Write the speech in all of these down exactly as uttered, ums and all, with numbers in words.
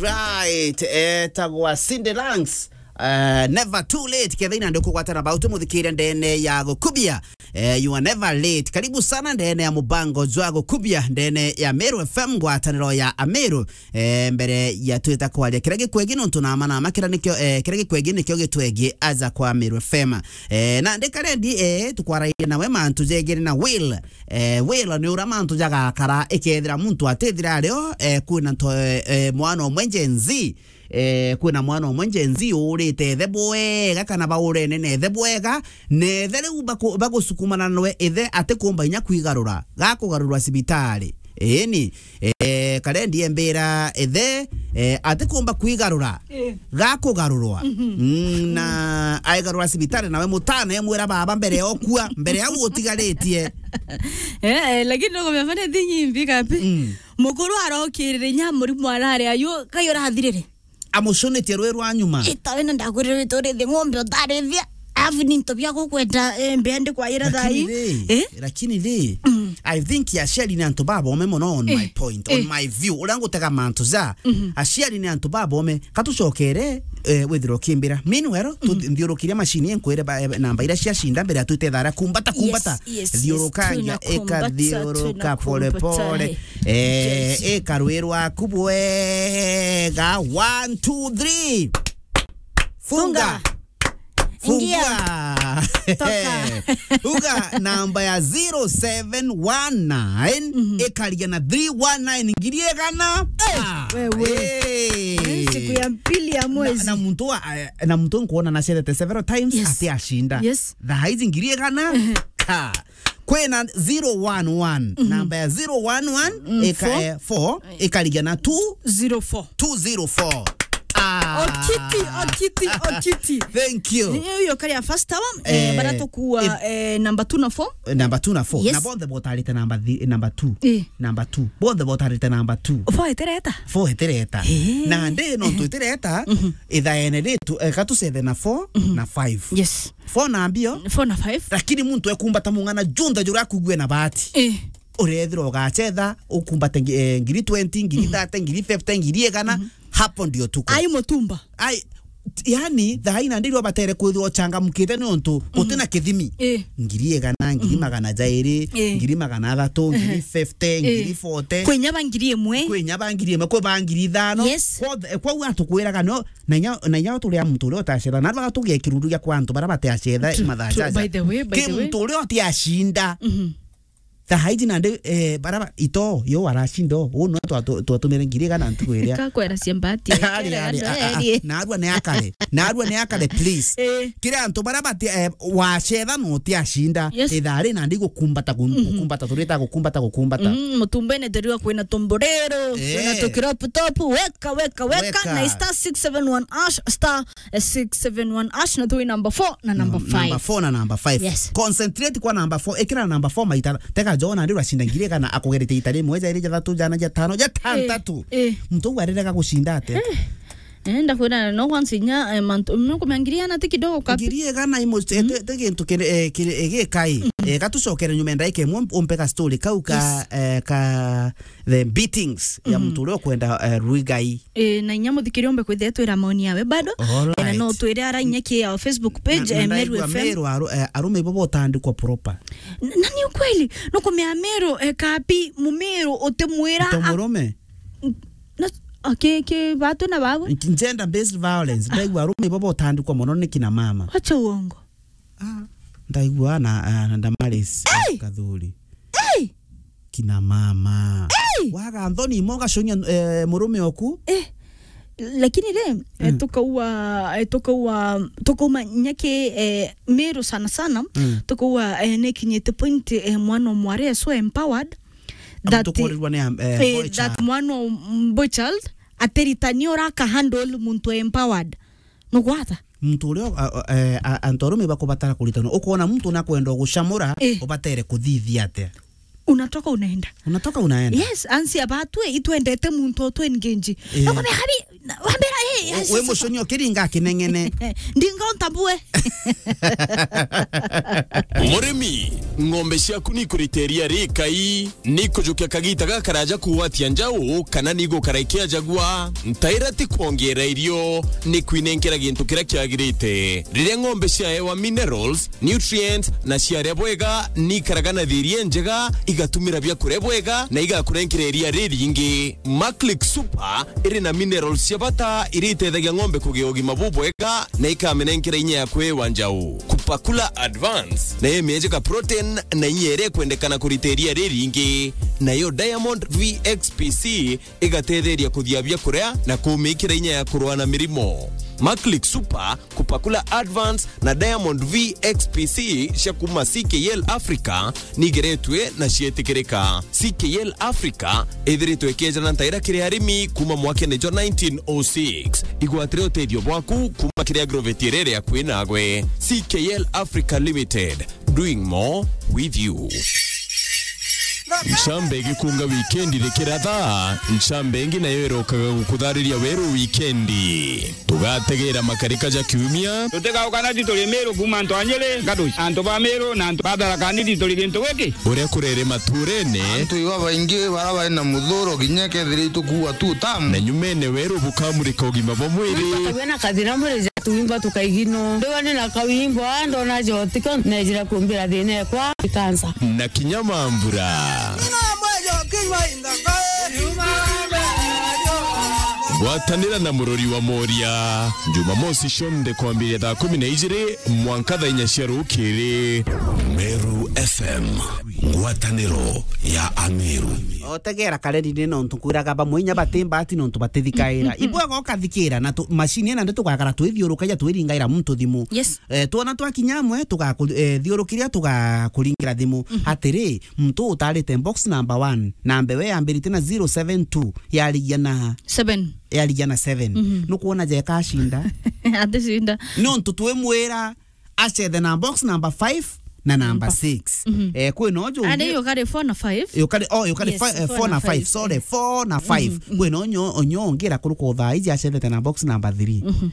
Right, etagwa Cindy Langs. Eh, never too late. Ketha ina ndikugwatana bautu muthikiria ndene ya gukubia. Eh, you are never late. Karibu sana ndene ya mubango jwa gukubia ndene ya Meru F M, ngwataniro ya Ameru. Eh, mbere ya twita kwaria kiria gikwegi nontu nama nama kiria nikio, eh, kiria gikwegi nikio gitwegi aja kwa Meru F M. Eh, na ndikarendi, eh, tukwaragia nawe mantu jegere na Will. Eh, Will ni ura mantu jagakara ikethira muntu atithira ario, eh, kwina nto, eh, eh, mwana omwe Gen Z. Eh, kwina mwana omwe Gen Z urite ithe bwega kana baurene na ithe bwega, na ithe riu baku-, bagusukumana nwe ithe atikumba inya kwigarura, gakugarurwa cibitari. Eni, eh, karendi embira ithe, eh, atikumba kwigarura, Eh. gakugarurwa. Mm, na aigarura cibitari nawe mutana emwira baba mbere ya okua, mbere ya utigarite. Eh, eh, lakini no kumefanya thi nyimbi kapi. Mm. Mukuru arokirire nya murimu arari ayu, kayo rathirire. Amucunitie rwi rwa nyuma. Ita wena ndakwirire witurithi ng'ombe utarithia, afu ni into bia gukwenda, eh, mbea ndi kwayira. Lakini thai. Ri, Eh? lakini ri, Mm. I think aciari ni antu babome mono on Eh. my point, on Eh. my view. Uria ngutega mantu ja, Mhm. aciari ni antu babome. Katucokere, eh, withirwo kimbira. Meanwhile, tu-, Mhm. nthiurukiria macini nkwire ba-, eh, namba iria ciacinda mbere ya twite thara kumbata, kumbata. Yes, yes, yes. Thiurukangia, Tunakumbata, ikathiuruka tunakumbata, pole pole. eh. Eh, Yes. ikarwirwa kubwega. One, two, three. Funga. Funga. Funga. Ingia. Toka. Funga namba ya zero seven one nine, Mhm. ikaria na three one nine, ngiri igana. Eh, Ah, wewe. eh. Eh, siku ya pili ya Na, mwezi. na muntu wa, eh, na muntu nkuona na cethete several times Yes. ati ashinda. Yes. Thaa ici ngiri igana. Ehe. Ha. Kwina zero one one, Mhm. namba ya zero one one, Mm, ika-, four. eh, four, ikarigia na two. Zero four. Two zero four. Ah. Okiti, okiti, okiti. Thank you. Ni hiyo kari ya first hour, eh, Eh, bara tukua, eh, eh, number two na four. Eh, number two na four. Yes. Na bonthe botarite number thi-, number two. Eh. Number two. Bonthe botarite number two. Four etereta? Four etereta. Eh. Na ndi no twetereta, Mhm. ithaene ritu, eh, katucethe na four Mhm. na five. Yes. Four na mbio. Four na five. Lakini muntu ekumbata mung'ana junthe juria akugue na bahati. Eh. Urethira ugacetha, ukumbate ngi-, eh, ngiri twenty, ngiri thirty, ngiri fifty, ngiri igana, Mhm. hapo ndio tuko. Ai mutumba. Ai, t-, yani, thaa ina ndirwa batere kwithirwa uchangamkite ni untu guti na kithimi. Eh. Ngiri igana, ngiri magana jairi, Eh. ngiri magana athatu, ngiri fifty, ngiri forty. Kwinya ba ngiri imwe. Kwinya ba ngiri imwe, kwi ba ngiri ithano. Yes. Kwa, kwa ua tukwiraga no, na inya, na inya turi a muntu uria utacetha. Na rwa tugie kirundu gia kwa antu bara bateacetha. True, mathaa true. Jaja. By the way, by Ki the way. Muntu uria utiacinda. Mhm. Thaa iji nandi, eh, bara ba-, ito, yo waracinda, u no twatu-, twatumire ngiri igana ntuku iria. Kakwera cia mbati, Ari, kera ari, gando, a, a, a, ari. Narua ni akare. Narua ni akare, please. Eh. Kiri antu bara bati, eh, wacetha no utiacinda. Yes. Ithaa ri nandi gukumbata, gu-, Mhm. gukumbata, turita gukumbata, gukumbata. Mm, mutumbene turiwa kwina tumburiro, Eh. kwina tu crop top, weka, weka, weka, Weka. na star six seven one hash, star six seven one hash, na twi number four na number Num-, five. Number four na number five. Yes. Concentrate kwa number four. Ikira number four maita. Tega John andi uracinda ngiri igana akugerete ita rimwe, jairi, jathatu, jana, jatano, jatantatu. Eh, eh. Muntu uu arerega gucinda ate? Eh. Eh, ndakwira no kwanza inya, eh, mantu, no kumenya ngiri igana ti kidogo kapi. Ngiri igana imo, eh, Mm. te, te gintu kiri, eh, kiri, eh, gikai. Mm. Eh, gatucokere nyuma ya ndaika imwe, umpe ga story kau ka, Yes. eh, ka the beatings ya Mhm. muntu uria ukwenda, eh, Ruigai. Eh, na inya muthikiria umbe kwithira twira maoni yawe bado. All Eh, na no right. twire ara inya ki ya Facebook page, Na, na eh, Meru ndaigua F M. Meru aru-, eh, arume ibo botandikwa proper. N-, na ni ukweli, no kumea Meru, eh, kapi, mumeru utimwira To a-, murume? N-, na, a, ki, ki, batu na babu? N-, gender based violence. Ndaigua arume ibo botandikwa mono ni kina mama. Wacha uongo. Ah, ndaigua na, ah, na Damaris Hey! Kathuri. Hey! Kina mama. Hey! Waga nthoni imo gaconia, eh, murume oku. Eh, lakini ri, eh, Mm. tukaua, eh, tukaua, tukauma nyaki, eh, Meru sana sana, Mm. tukaua, eh, nikinyite point, eh, mwana o mwari e so empowered, Amu that, tukurirwa ni am-, eh, eh, boy that child. Mwana o m-, boy child, atiritani ura aka handle muntu empowered. Nugwata? Muntu uria, a, a, eh, a, antu arume bakubatara kuritanwa. Ukoona muntu nakwenda gucamura, Eh. ubatere kuthithia atia? Unatoka unaenda. Unatoka unaenda? Yes, ansi abatwe itwendete muntu o tu engage. Eh. Nakwambia, habi, na-, wambira, Wi mucuni ukiringa kineng'ene. Ndinga untabue. Murimi, ng'ombe ciaku ni ikurita iria rikai, ni ikujukia kagita gakaraja kugwatia njau, kana ni igukara ikiajagua? Ntaira ti kwongeera irio, ni kwinenkera gintu kiria kiagirite. Riria ng'ombe ciaewa minerals, nutrients, na ciaria bwega, ni ikaraga na thiiri injega, igatumira biakuria bwega, na igakurenkera iria riringi. Maclick Super iri na minerals cia bata iria iteithagia ng'ombe kugia ugima bubwega na ikamenenkera inya ya kwiwa njau. Kupakula Advance nayo imiejeka protein na inya iria ikwendekana kurita iria riringi. Nayo Diamond V X P C igatetheria kuthia biakuria na kumikira inya ya kurua na mirimo. Maclick Super, Kupakula Advance na Diamond V X P C cia kuma C K L Africa nigeretwe na cietikirika. C K L Africa ithiritwe ikiejana ntaira kiri arimi kuma mwakene jwa nineteen oh six. Igwatire utethio bwaku kuma kiri agrovet iria iri akui nagwe. C K L Africa Limited, doing more with you. Ncambe igikunga wikendi rikiratha, ncambe ingi nayo irokaga gukuthariria weru wikendi. Tugategera makarika ja kiumia. Tutigauka na ti turi Miru kuma antu a Nyeri, Ngaduci. Antu ba Miru na antu ba Tharaka Nithi turi gintu giki. Uria kurere maturene. Antu iba baingi bara bari na muthuro kinya kethira itukuua tu tamu. Na nyumene weru bukamurika ugima bwa mwiri. Tuwe na kathina mwiri ja tuimba tukaigino. Ndiwa ni na kawimbo, ah, ndona jotiko, nejira kumbira thina ekwa, ikansa. Na kinya mambura. Gwatanira na murori wa Moria, Jumamosi cionthe kwambiria thaa kumi na ijiri mwanka thaa inya cia rukiri. Meru F M, ngwataniro ya Ameru. Otegera kareri ni nontu kwiraga bamwe inya bati mbati nontu batithikaira. Ibwega ukathikira na tu-, macini ina ndi tugakara twithiurukagia twiringaira muntu thimu. Yes. Eh, twona twakinya amwe, tugaku-, eh, thiurukiria, tugakuringira thimu. Mhm. Atiri, muntu utarite box number one, namba iwe yambirite na zero seven two, yarigia na Seven. Yarigia na seven. Mhm. Nukwona jeka ashinda? Atishinda. Nontu twimwira acethe na box number five na number six. Mhm. Eh, kwina uju Ade ungi yukari four na five. Yukari, oh, yukari Yes, fi-, eh, four four na na five, five, sorry, eh. Four na five. Mhm, mhm. Kwina unyo, unyo ungi ira kuruka uthaa iji acethete na box number three. Mhm.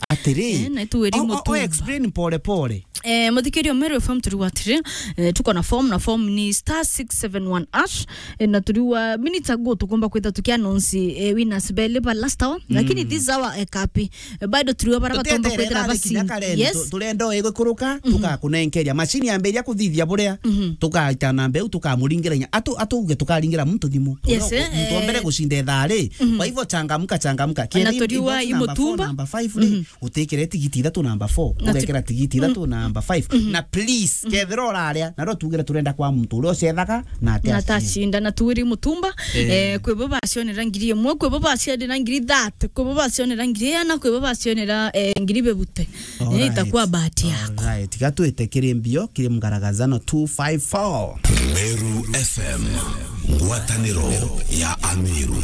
Atiri, Eh, na tu weri o, o, o, mutumba. Explain pole pole. Eh, muthikiria Meru F M turi wa atiri, eh, tuko na form, na form ni star six seven one hash, eh, na turi wa minutes ago tukomba kwitha tukia announce, eh, winners beli ba last hour, lakini this hour, eh, kapi, eh, bado turi wa bara batomba Tuteterera kwithira basi. Kinya kareni, Yes. tu-, turenda o igukuruka, Mhm. tugakunenkeria. Machine yambiria kuthithia buria, Mhm. tugaita namba iu, tukamuringira inya. Atu-, atuuge tukaringira muntu thimu. Yes, Uria eh, muntu wa mbere eh. gucinda ithaa ri. Mhm. Kwa hivyo changamka, changamka. Na Kiri turi wa box number four, imutumba. Number five ri. Mhm. Utikire tigiti ithatu namba four, Na tu- ugekira tigiti ithatu namba five. Mhm. Na please, kethira uraria, na ro tugire turenda kwa muntu uria ucethaga na ati Na acinda. Tacinda, na tuwiri mutumba, Eh. eh, kwi bo bacionera ngiri imwe, kwi bo bacionera ngiri thirty, kwi bo bacionera ngiri iana, kwi bo bacionera, eh, ngiri bebute. Eh, Alright. itakuwa bahati yako. Alright. Tiga twite kiri mbio, kiri mgaragazano two five four. Meru F M, ngwataniro ya Ameru.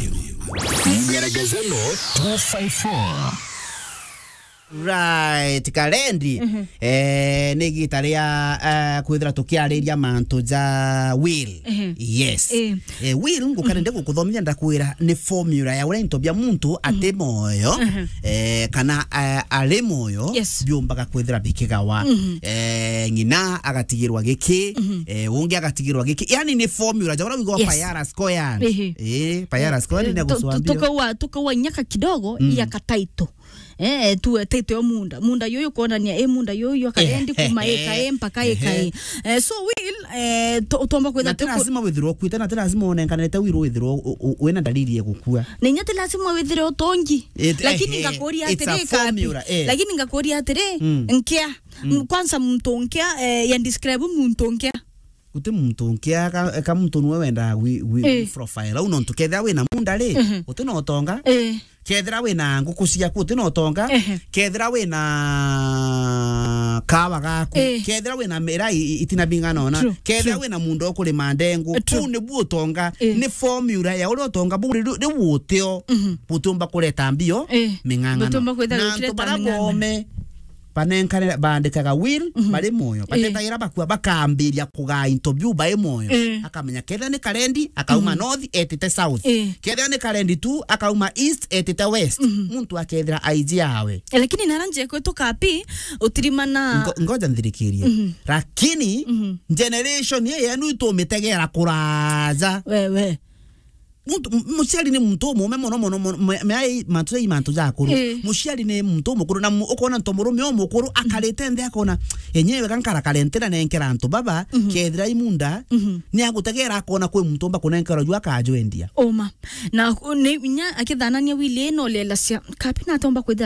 Mgaragazano two five four. Right, Karendi. Mhm. Eh, ni igita ria, eh, kwithira tukiariria mantu ja will. Mhm. Yes. Eh. Eh, will, ngukarende gukuthomithia ndakwira ni formula ya uria into bia muntu ati moyo, Mhm. eh, kana, eh, ari moyo, Yes. biumbaga kwithira bikigawa. Mhm. Eh, ng'ina agatigirwa giki, Mhm. eh, ungi agatigirwa giki. Yani ni formula ja uria wigwa Yes. Payara square. Ehe. Eh, Payara square ni Eh, tu-, tu-, gucwambio. Tukaua, tukaua nyaka kidogo, Mm. ya kataito. Eh, tu etete o munda. Munda yuyu kuonania, eh, munda yuyu akaendi Eh, kuma eh, eka, eh, mpaka eka, eh. Eh, so will, eh, to-, utomba kwitha Na ti tuku- lazima withirwo ukuite, na ti lazima unenkanete will withirwo u-, u-, wina dalili ya gukua. Na inya ti lazima withire utongi. It- Lakini eh, eh, ngakuria it's a atiri, Kapi. Formula, eh. Lakini ngakuria atiri, Mm. nkia. Mm. Kwanza muntu nkia, eh, ya describe muntu nkia. Guti muntu nkia ka, ka muntu nwe wendaa wi, wi, Eh. profile. Au nontu kethira wina munda ri, Mhm. uti na utonga. Eh. Kethira wina nguku ciaku, uti na utonga. Ehe. Kethira wina kawa gaku. Eh. Kethira wina mira i, i, itina bing'ana ona. True, Kethira true. wina munda ukurima ndengu. Eh, true. Kuu nibu utonga. Eh. Ni formula ya uria utonga buu ri, ri, riu utio. Mhm. Butiumba kureta mbio, Eh. ming'ang'ano. Butiumba kwithira Na gukireta antu bara ming'ang'ano. Bome, banenkane, baandikaga will, mhm, bari mwoyo. Eh. Batetagira bakua, bakambiria kugaa into biu bai mwoyo. Eh. Akamenya kethira ni Karendi, akauma, mhm, north, etite south. Eh. Kethira ni Karendi tu, akauma east, etite west. Mhm. Muntu akethira aiji awe. Eh, lakini nara njekwe tukapi, utirimana. Ngo-, ngoja nthirikirie. Mhm. Lakini, mhm, generation ye yenu itumitegera kuraja. Wewe. Muntu, m-, muciari ni muntu umume mono, mono, mono, me, me ai mantu ja, mantu ja akuru. Eh. Muciari ni muntu umukuru, na mu-, ukona nto murume umukuru, mhm, akarite nthi akona, enyewe gankara karentera nenkera antu baba, mhm, kethira imunda, mhm, ni agutegera akona kwi muntu umba kunenkera ju akajwendia. Uma. Na ku-, ni inya akithanania wili ino lelacia, kapi natomba kwithira